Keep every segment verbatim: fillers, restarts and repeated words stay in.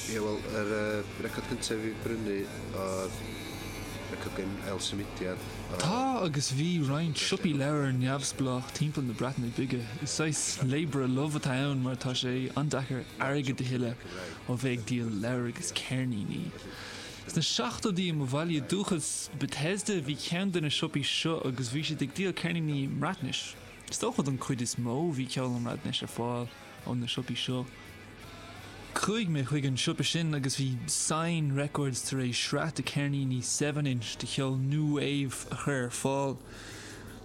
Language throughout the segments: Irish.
Ie, wel, yr uh, record cyntaf fi brynu oedd record gen El Symudiad. Tá agus bhí roinnt siopaí leabhar neamhspleách timpeall na Breataine Bige. Is saghas labour of love atá ann mar tá sé an-deacair airgead a thuilleamh ó bheith ag díol leabhar agus ceirníní. Sna seachtóidí i mo bhaile dúchais Bethesda bhí ceann de na siopaí seo agus bhí siad ag díol ceirníní i mBreatnais. Is dócha don chuid is mó bhí ceol i mBreatnais ar fáil ó na siopaí seo. Chuaigh mé chuig an siopa sin agus bhí Sign Records tar éis sraith de ceirníní seven inch de cheol new wave a chur ar fáil.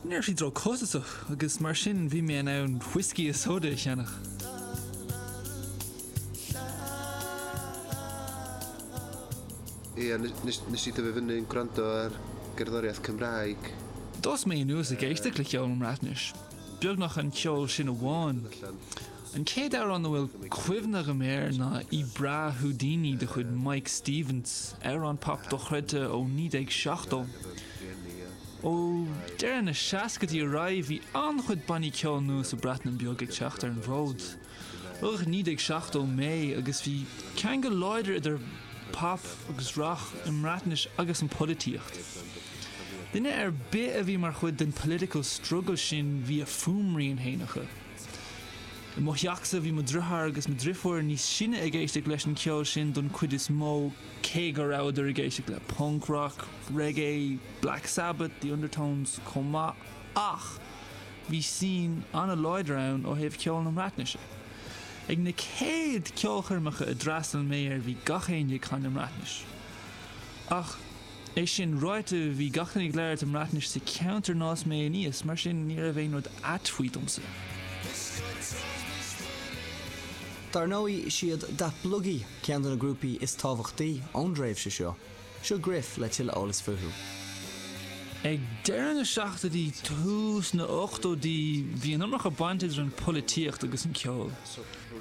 Ní raibh siad ró-chostasach agus mar sin bhí mé in ann whiskey is soda a cheannach. Ie, nes, nes i dyfu fyny'n gwrando ar gerddoriaeth Cymraeg. D'fhás mé anuas ag éisteacht le ceol i mBreatnais. Beagnach an ceol sin amháin. An chéad amhrán a bhfuil cuimhne agam air ná I Bra Houdini de chuid Mike Stevens, amhrán pop dochreidte ó naoi déag seachtó. Ó deireadh na seascaidí ar aghaidh bhí an-chuid bannaí ceoil nua sa Bhreatain Bheag ag teacht ar an bhfód. Rugadh i naoi déag seachtó mé agus bhí ceangal láidir idir pop agus rock i mBreatnais agus an pholaitíocht. Duine ar bith a bhí mar chuid den political struggle sin bhí a fuaimrian féin acu. I mo theachsa bhí mo dheartháir agus mo dheirfiúr níos sine ag éisteacht leis an cheol sin don chuid is mó, cé go rabhadar ag éisteacht le punk rock, reggae, Black Sabbath, The Undertones chomh maith, ach bhí scene an-láidir ann ó thaobh ceol na Breatnaise. Ag na chéad ceolchoirmeacha a d'fhreastail mé air bhí gach éinne ag canadh i mBreatnais. Ach é sin ráite bhí gach duine ag labhairt i mBreatnais sa cheantar inar fhás mé aníos, mar sin ní raibh aon rud ait faoi domsa. Dar ndóigh is iad Datblygu ceann de na grúpaí is tábhachtaí ón dtréimhse seo. Seo Griff le tuilleadh eolas fúthu. Ag deireadh na seachtóidí tús na ochtóidí bhí an iomarca baint idir an polaitíocht agus an ceol.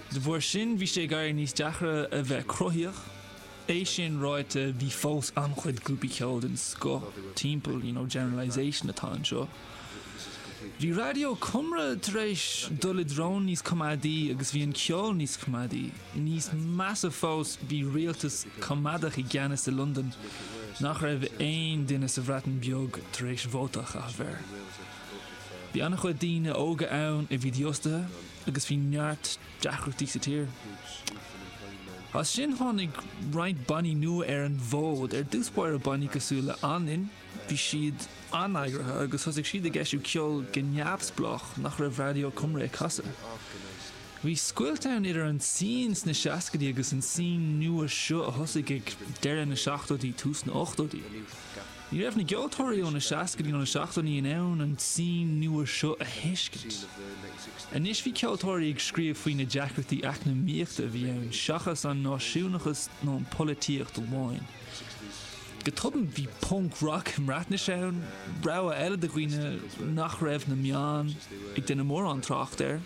De bharr sin bhí sé ag éirí níos deacra a bheith cruthaíoch. É sin ráite bhí fós an-chuid grúpaí ceoil den scoth timpeall, you know, generalisation atá anseo. Bhí Raidió Cymru tar éis dul i dtreo níos coimeádaí agus bhí an ceol níos coimeádaí. Níos measa fós bhí rialtas coimeádach i gceannas i Londain nach raibh aon duine sa Bhreatain Bheag tar éis vóta a chaitheamh air. Bhí an-chuid daoine óga ann a bhí dífhostaithe agus bhí neart deacrachtaí sa tír. As sin tháinig roinnt bannaí nua ar an bhfód, ar dtús báire bannaí cosúil le Anainn, bhí siad an-eagraithe agus thosaigh siad ag eisiú ceol go neamhspleách nach raibh Raidió Cymru ag casadh. Bhí scoilt ann idir an scene sna seascaidí agus an scene nua seo a thosaigh ag deireadh na seachtóidí tús na ochtóidí. Ní raibh na ceoltóirí ó na seascaidí nó na seachtóidí in ann an scene nua seo a thuiscint. Anois bhí ceoltóirí ag scríobh faoi na deacrachtaí eacnamaíochta a bhí ann seachas an náisiúnachas nó an polaitíocht amháin. Go tobann bhí punk rock i mBreatnais ann, rogha eile do dhaoine nach raibh na meáin ag déanamh mórán trácht air.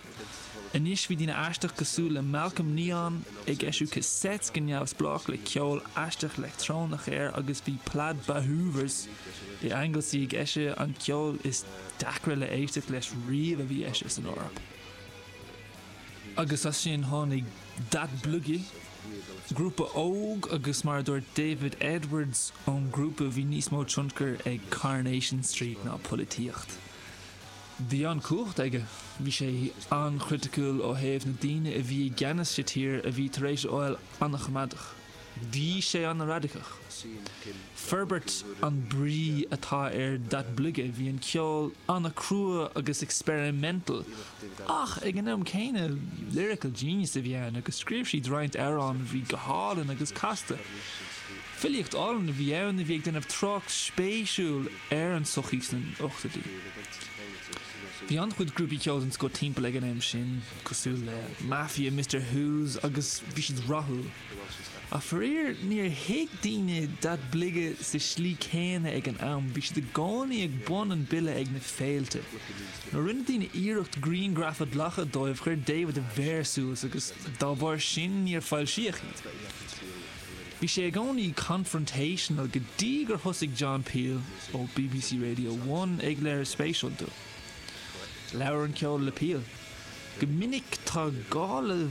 Anois bhí daoine aisteach cosúil le Malcolm Neon ag eisiú cassettes go neamhspleách le ceol aisteach leictreonach air agus bhí Plaid Bahoovers i Anglesey ag eisiú an ceol is deacra le éisteacht leis riamh a bhí eisithe san Eoraip. Agus as sin tháinig Datblygu, grúpa óg agus mar a dúirt David Edwards ón grúpa bhí níos mó tionchar ag Coronation Street ná polaitíocht. Bhí an-chumhacht aige, bhí sé an-chriticiúil ó thaobh na daoine a bhí i gceannas sa tír a bhí tar éis a fháil an-choimeádach. Bhí sé an-radacach. Forbairt an brí atá ar Datblygu, bhí an ceol an-chrua agus experimental, ach ag an am céanna lyrical genius a bhí ann agus scríobh siad roinnt amhrán a bhí go hálainn agus casta. Filíocht álainn a bhí ann a bhí ag déanamh trácht spéisiúil ar an sochaí sna ochtóidí. Bhí an-chuid grúpaí ceoil den scoth timpeall ag an am sin, cosúil le Mafia Mister Huws agus bhí siad rathúil. Ach faraor níor thuig daoine Datblygu sa slí céanna ag an am, bhí siad i gcónaí ag bun an bille ag na féilte. Nuair a rinne daoine iarracht grianghraf a ghlacadh dóibh chuir David a mhéar suas agus dá bharr sin níor foilsíodh iad. Bhí sé i gcónaí confrontational go dtí gur thosaigh John Peel ó B B C Radio One ag léiriú spéis iontu. Labhair an ceol le Peel. Go minic tá gá le